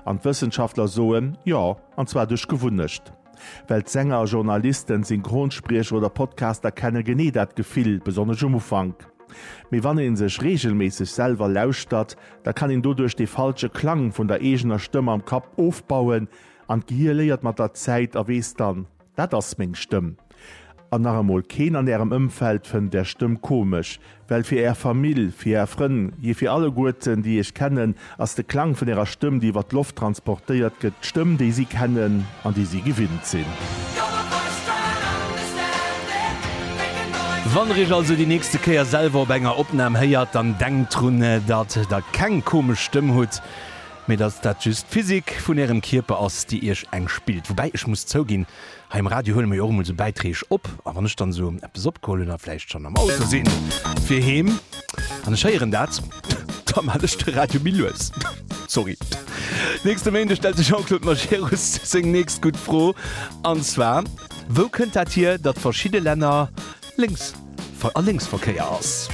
An d'Wëssenschaftler soen, jo, an zwar duerch Gewunnecht. Well d'Sänger, Journalisten, Synchronspriecher oder Podcaster kenne genee dat Gefill, besonnesch um Ufank. Mee wann ee sech reegelméisseg selwer lauschtert, da kann een doduerch dee falsche Klang vun der eegener Stëmm am Kapp ofbauen an d'Gehier léiert mat der Zäit a weess dann, Dat ass meng Stëmm. An nach emol, keen an ärem Ëmfeld fënnt är Stëmm komesch, well fir är Famill, fir är Frënn, jee fir alleguerten déi iech kennen, ass de Klang vun ärer Stëmm, déi iwwer d'Loft transportéiert gëtt, d'Stëmm déi si kennen an déi si gewinnt sinn. Wann der iech also déi nächste Kéier selwer op enger Opnam héiert, dann denkt drun, datt der keng komesch Stëmm hutt. Mee dass dat just d'Physik vun ärem Kierper ass, déi iech eng spillt. Woubäi, ech muss zouginn, hei um Radio huele mer jo och emol sou Bäitreeg op, a wann ech dann esou eppes opgeholl hunn a vläicht schonn am Auto sinn fir heem an ech héieren dat, da maan ech de Radio méi lues. Sorry. Nächste Méinde stellt de Jean-Claude Majerus seng nächst gutt Fro, an zwar, Wou kënnt dat hier, datt verschidde Länner lénks a Lénksverkéier ass?